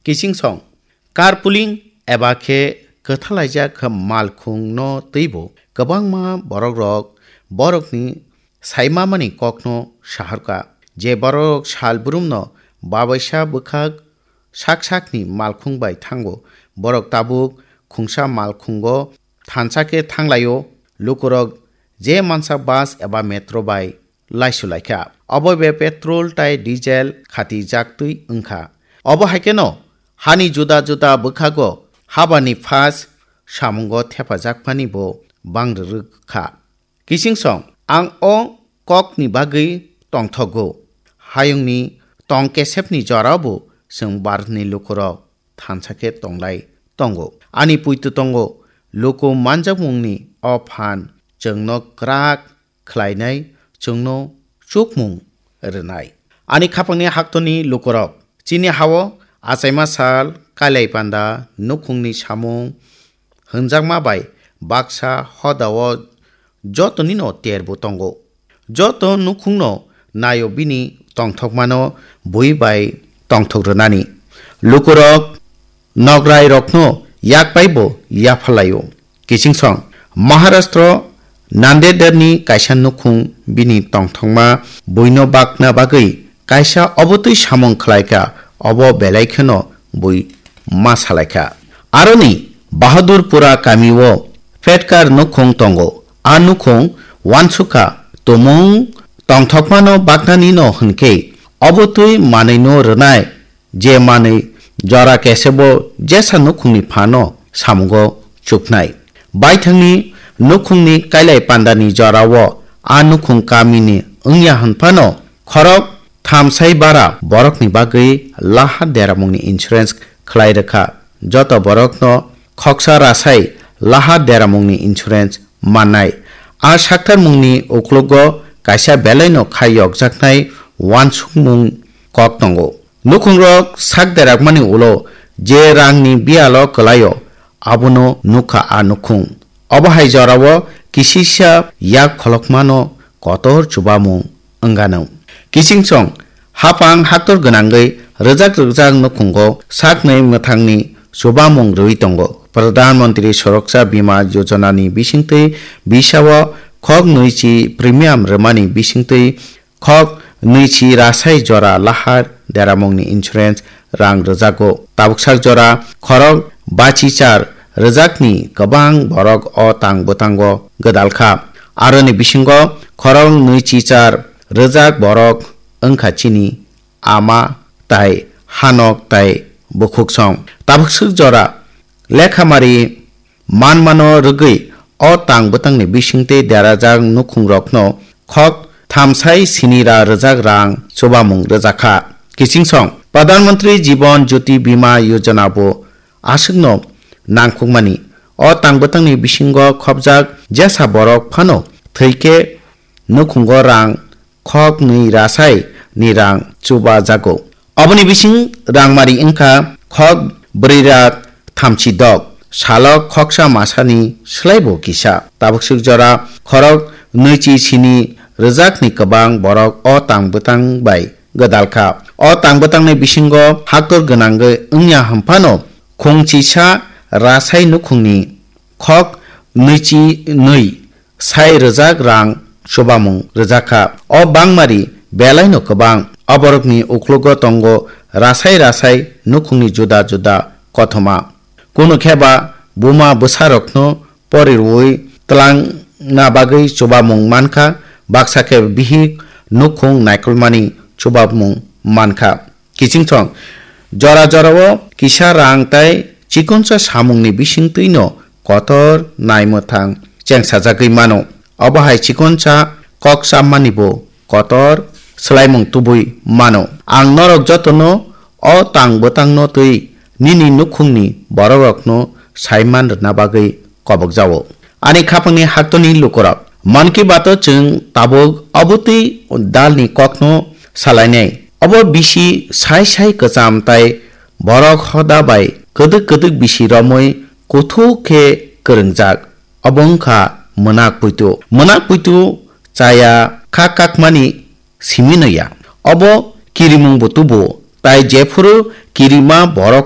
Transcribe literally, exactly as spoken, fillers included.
Kiching song, carpooling eba khe kwthalaijak malkhungno twibo kwbangma borokrok borokni saimamani kokno saharkha. Je borok sal brumno babaisa bwkhak sak sakni malkhung bai thango, borok tabuk khungsa malkhungo thansa khe thanglaio. Lukurok je mansa bus eba metro bai laisu laikha. Obo be petrol tai diesel khati jaktwi wngkha. Obo hai kheno hani juda juda bwkhago habani phas samungo thepajakmani bo bang rwrwk kha. Kiching song, ang o kokni bagwi tongthogo. Hayungni tong kesepni jorao bo chwng Bharatni lukurok thansa khe tonglai tongo. Ani puitu tongo, luku manjakmungni o phan chwngno kwrak khlainai, chwngno chukmung rwnai. Ani khapangni haktoni lukurok, chini hao achaima sal, kailai panda, nukhungni samung hwnjakma bai baksa hodao jotonino terbo tongo. Joto nukhungno naio bini tongthokmano bui bai tongthok rwnani. Lukurok nograirokno yak bai bo yapharlaio. Kiching song, Maharashtra Nandedni kaisa nukhung bini tongthokma buino bakna bagwi kaisa obotwi samung khlaikha, obo belai kheno bui ma salaikha. Aroni Bahadurpura kamio Petkar nukhung tongo. A nukhung uansukha tumung tongthokmano baknanino hwnkhe obotwi manwino rwnai, je manwi jora kesebo jesa nukhungni phano samungo chuknai. Baithangni nukhungni kailai pandani jorao a nukhung kamini wngya hwnphano khorok thamsai bara borokni bagwi lahar deramungni insurance khlai rwkha. Joto borokno khoksa rasai lahar deramungni insurance mannai. A saktarmungni uklogo kaisa belaino khai yokjaknai uansukmung kok tongo. Nukhungrok sak derakmani ulo je rangni biyalo kwlaio, abono nukha a nukhung. Obo hai jorao kisisa yak kholokmano kotor chubamung wngano. Kiching song, hapang haktor gwnangwi rwjak rwjak nukhungo saknwi mwthangni chubamung rwui tongo. Pradhan Mantri Suraksha Bima Yojana ni bisingtwi bisao khok nwichi premium rwmani bisingtwi khok nwichi rasai jora lahar deramungni insurance rang rwjago. Tabuksak jora khorok bachi char rwjakni kwbang borok o tang bwtango gwdalkha. Aroni bisingo khorok nwichi char rwjak borok wngkha chini ama tai hanok tai bukhuksong. Tabuksak jora lekhamari manmano rwgwi o tang bwtangni bisingtwi derajak nukhungrokno khok thamsai sinira rwjak rang chubamung rwjakha. Kiching song, Pradhan Mantri Jiban Jyoti Bima Yojana bo aswkno nangkukmani. O tang bwtangni bisingo khopjak jesa borok phano thwikhe nukhungo rang khok nwi rasai ni rang chuba jago. Oboni bising rangmari wngkha khok brwi ra thamchi dok, salo khoksa masani swlaibo kisa. Tabuksuk jora khorok nwichi sini rwjakni kwbang borok o tang bwtang bai gwdalkha. O tang bwtangni bisingo haktor gwnangwi wngya hwnphano khungchisa rasai nukhungni khok nwichi nwi sai rwjak rang chubamung rwjakha. O bangmari belaino kwbang. Oborokni uklogo tongo rasai rasai nukhungni juda juda kothoma. Kunu khe ba buma bwsarokno pori rwui twlangna bagwi chubamung mankha, baksa khe bihik nukhung naikolmani chubamung mankha. Kiching song, jora jorao kisa rang tai chikonsa samungni bisingtwino kotor naimwthang chengsajagwi mano. Obo hai chikonsa kok chammani bo kotor swlaimung tubui mano. Ang norok jotono o tang bwtangno twi nini nukhungni borokrokno saiman rwna bagwi kobokjao. Ani khapangni haktoni lukurok, Mann Ki Bato chwng tabuk obotwi dalni kokno salainai. Obo bisi sai sai kwcham tai borok hoda bai kwdwk kwdwk bisi romwi kuthuk khe kwrwngjak. Obo wngkha mwnak puitu. Mwnak puitu chaya kha kakmani simi no ya. Obo kirimung bo tubu, tai jephuru kirima borok